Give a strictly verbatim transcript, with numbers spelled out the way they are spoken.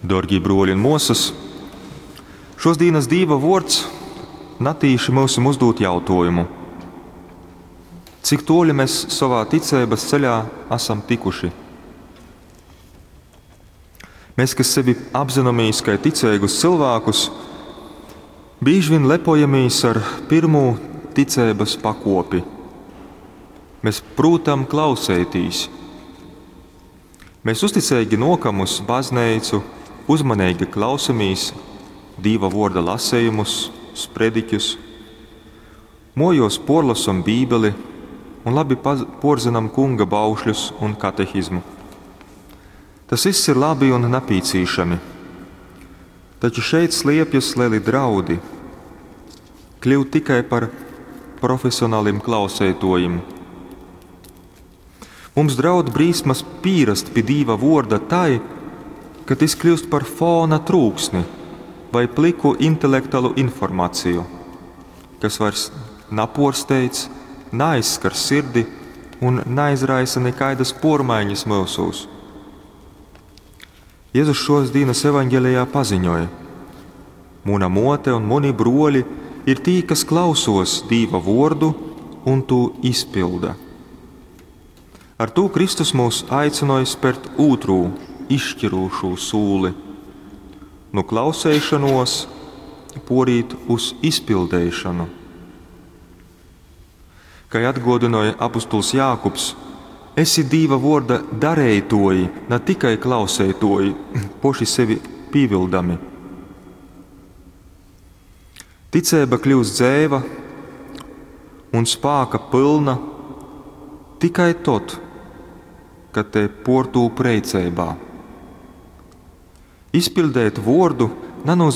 Dorgie bruoļi un muosys, šos dīnas Dīva vuords natīši myusim uzdūd jautuojumu. Cik tuoli mēs sovā ticeibys ceļā asam tikuši? Mēs, kas sevi apzināmies kai ticeigus cilvēkus, bīži vien lepojamīs ar pirmū ticeibys pakuopi. Mēs prūtam klauseitīs. Mēs uzticeigi nuokam uz bazneicu, uzmaneigi klausamīs Dīva vuorda lasejumus, sprediķus, muojuos puorlosom Bībeli un labi puorzinam Kunga baušļus un katehizmu. Tas viss ir labi un napīcīšami. Taču šeit sliepjas lieli draudi kļūt tikai par profesionālim klauseituojim. Mums draud brīsmas pīrast pi Dīva vuorda tai, ka tys kļūst par fona trūksni vai pliku intelektualu informaciju, kas vairs napuorsteidz, naaizskar sirdi un naizraisa nekaidas puormaiņas myusūs. Jēzus šos dīnas evaņgelijā paziņoja: Muna muote un muni bruoļi ir tī, kas klausos Dīva vuordu un tū izpilda. Ar tū Kristus mūs aicināja spērt ūtrū, izšķirūšū sūli. Nu klauseišanos porīt uz izpildeišanu. Kai atguodynoja apustuls Jākubs, esi Dīva vuorda dareituoji, ne tikai klauseituoji, poši sevi pīvildami. Ticeiba kļūst dzeiva un spāka pylna tikai tod, kad te puortūp reiceibā. Izpildēt vuordu nanozīmē